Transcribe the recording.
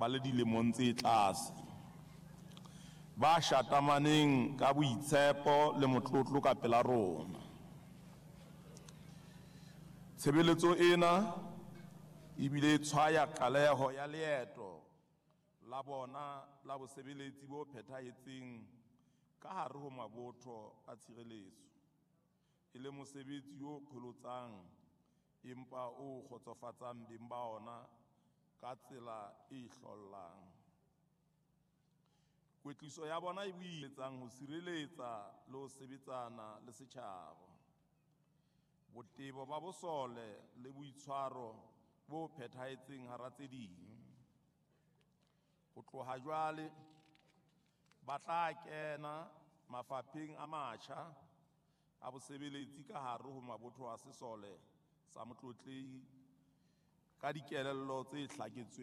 ba le dilemong tse tlase, ba shatamaneng ka boitshepo le motlotlo ka pela rona. Tshebeletso ena ebile e tshwaya qaleho ya leeto la bona la bosebeletsi bo phethahetseng ka hare ho mabotho a tshireletso, e le mosebetsi o qholotsang empa o kgotsofatsang beng ba ona ka tsela e hlollang. Kwetliso ya bona e boiletsang ho sireletsa le ho sebetsana le setjhaba. Botebo ba bosole le boitshwaro bo phethahetseng hara tse ding. Ho tloha jwale ba tla kena mafapheng a matjha a bosebeletsi ka hare ho mabotho a sesole sa Motlotlehi ka dikelello tse hlaketsweng.